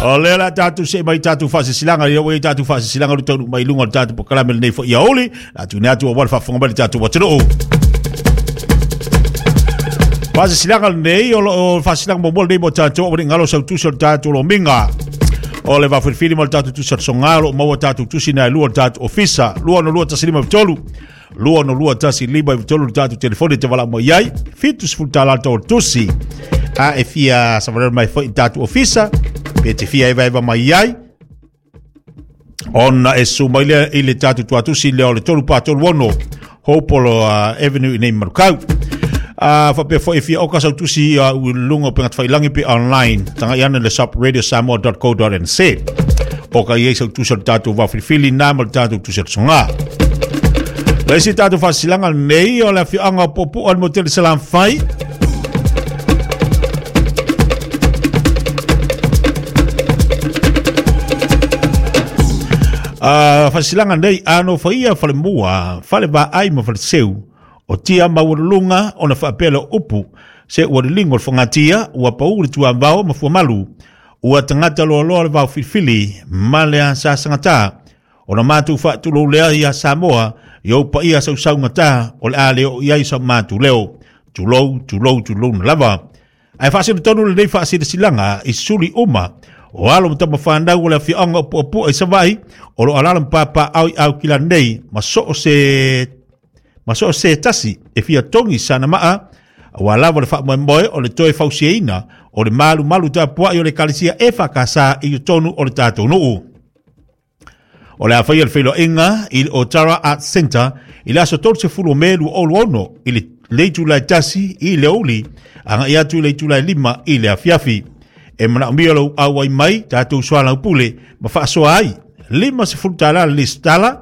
O lea la tatou see mai tatou faasilasilaga ia ua i ai tatou faasilasilaga ua taunuu mai i luga o le tatou polokalame lenei foi aoauli le a tuuina atu aua le faafofoga mai le tatou atunuu. Faasilasilaga lenei o lo o faasilasilaga muamua lenei mo tatou aua ne i galo sau tusi o le tatou lomiga. O le vaafilifili ma le tatou tusi o le soga o lo o maua tatou tusi na e lua o le tatou ofisa 262 153 262 153 le tatou telefoni e te valaau mai ai $70 le tau o le tusi a e fia savalelo mai foi i le tatou ofisa pe te fia evaeva mai ai ona e susu mai lea i le tatou tuatusi lea o le 3436 Hopolo Avenue i nei Manukau. Faapea foi e fia oka sau tusi i luga o upegatafailagi pe online tagai ane le shop radiosamoa.co.nz oka i ai sau tusi o le tatou vaofilifili na ma le tatou tusi o le soga. Le isi tatou faasilaga lenei o le afioaga o Puapua le motele Salafai. Faasilaga nei ano faia falemua, falevaai ma faleseu o tia maualuluga ona faapea lea o upu se ua liligo le fogatia ua pau le tuavao ma fuamalu ua tagata loaloa le vaofilifili ma le asasagata ona matou faatulou lea ia Samoa i ou paia sausaugata o le a le oo i ai sa matou leo. Tulou, tulou, tulou na lava. Ae faasinotonu lenei faasilasilaga i suli uma o alo ma tama fanau o le afioaga o Puapua i Savaii o lo o alaala ma papaaao i Aukilani nei ma so o se ma so o se tasi e fia togi sana maa aua lava le faamoemoe o le toe fausiaina o le malumalu tapuai o le Ekalesia EFKS i totonu o le tatou nuu. O le a faia le feiloaiga i le Otara Arts Centre i le aso 30 o Me 2026 i le itula e 1 i le aoauli agai atu i le itula e 5 i le afiafi. E manaomia lou auai mai tatou soalaupule ma faasoa ai $50 le lesitala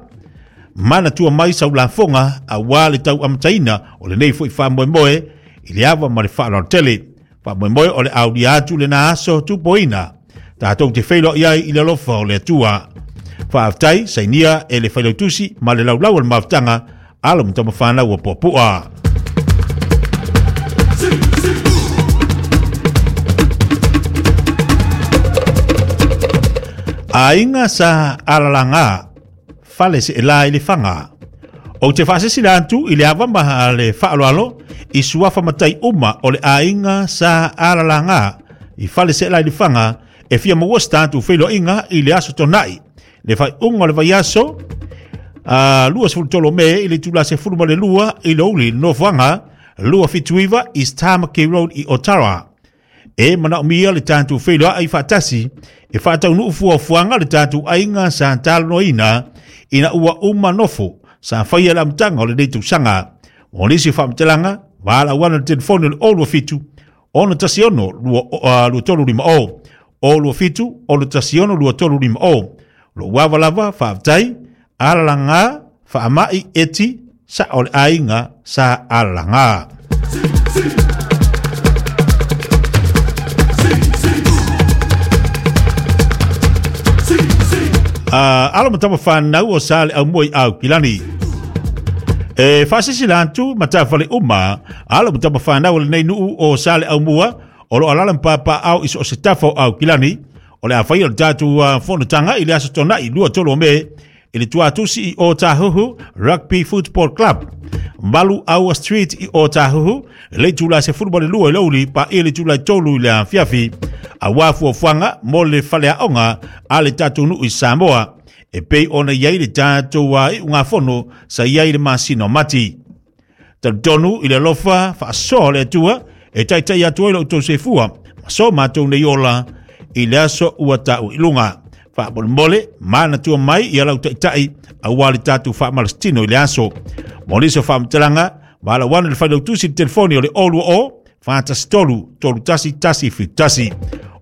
manatua mai sau lafoga aua le tau amataina o lenei foi faamoemoe i le ava ma le faaaloalo tele. Faamoemoe o le aulia atu lena aso tupoina tatou te feiloai ai i le alofa o le Atua. Faafetai sainia e le Failautusi ma le laulau o le mafutaga alo ma tamafanau o Puapua. Aiga sa alalaga fale seelā i le faga. Ou te faasesila atu i le ava ma le faaaloalo i suafa matai uma o le aiga sa alalaga i fale seelā i le faga e fia maua se tatou feiloaiga i le aso Tona'i le faaiuga o le vaiaso 23 o Me i le itula 12 i le aoauli i le nofoaga 279 East Tamaki Road i Otara. E manaomia le tatou feiloai faatasi e faataunuu fuafuaga le tatou aiga sa talanoaina ina ua uma nofo sa faia le amataga o lenei tausaga. Mo nisi faamatalaga, valaauana le telefoni o le 027 616 2350 027 616 2350. Lou ava lava, faafetai, alalaga, faamai eti, sa o le aiga sa alalaga. Alo ma tama whanau o sa le au mua i Aukilani. E faasisila atu matafale uma alo ma tama whanau o lenei nuu o sa le au mua o lo alala ma papaaao i so o se tafa o Aukilani o le a faia o le tatou fonotaga i le aso Tona'i 23 o Me i le tuatusi i Otahuhu Rugby Football Club 8 Aua Street i Otahuhu i le itula 12 i le aoauli paia le itula e 3 i le afiafi aua fuafuaga mo le faleaoga a le tatou nuu i Samoa e pei ona i ai le tatou iugafono sa i ai i le masina o Mati. Talitonu i le alofa faasoa o le Atua e taitai atu ai lo outou soifua ma so matou nei ola i le aso ua taua i luga. Faamolemole, manatua mai ia lau taitai aua le tatou faamalasitino i le aso. Mo nisi o faamatalaga, valaauana le failautusi i le telefoni o le 020 43 31 171.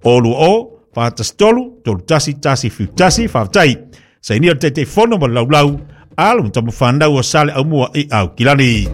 020 43 31 171. Faafetai. Sainia le Taitaifono ma le laulau, alo ma tamafanau o Sale Aumua i Aukilani.